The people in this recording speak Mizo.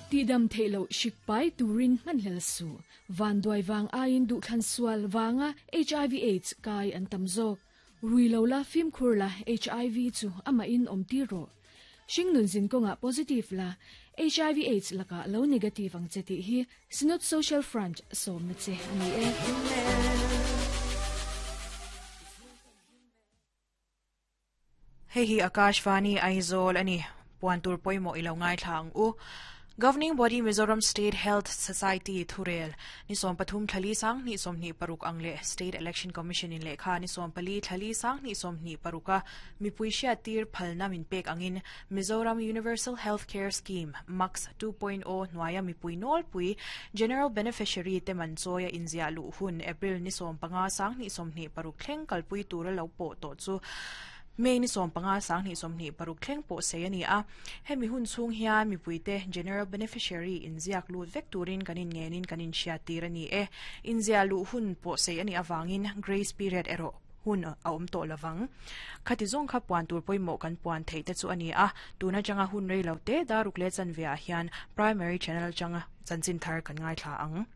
Tihdam theih loh hrik pai turin hmanhlel suh. Vanduai vang aiin duhthlan sual vanga hiv aids kai an tam zawk. Rui lo la fimkhur la hiv chu amahin awm tir rawh. Hringnun zin kawngah positive la hiv aids lakah lo negative ang che tih hi Synod Social Front sawmna che a ni e. Hei hi Akashvani Aizawl a ni. Puan tur pawimawh i lo ngaithla ang u. Governing Body Mizoram State Health Society thurel ni 13 thlali 20 26 ang leh State Election Commission in lehkha ni 14 thlali 20 26 a mipui hriattir phalna min pek angin Mizoram Universal Health Care Scheme, MACS, 2.0 hnuaia mipui nawlpui General Beneficiary te man chawia inziah luh hun April ni 15 20 26 thleng kalpui tura lo pawh tawh chu May ni 15 20 26 thleng pawh sei a ni a. Hemi hun chhung hian mipuite General Beneficiary inziak lut vek turin kan inngenin kan inhriattir a ni e. Inziah luh hun pawh sei a nih avangin grace period erawh hun a awm tawh lovang. Khati zawng kha puan tur pawimawh kan puan theih te chu a ni a, tun atanga hun rei lo te daruk leh chanve ah hian Primary Channel atanga chanchin thar kan ngaithla ang.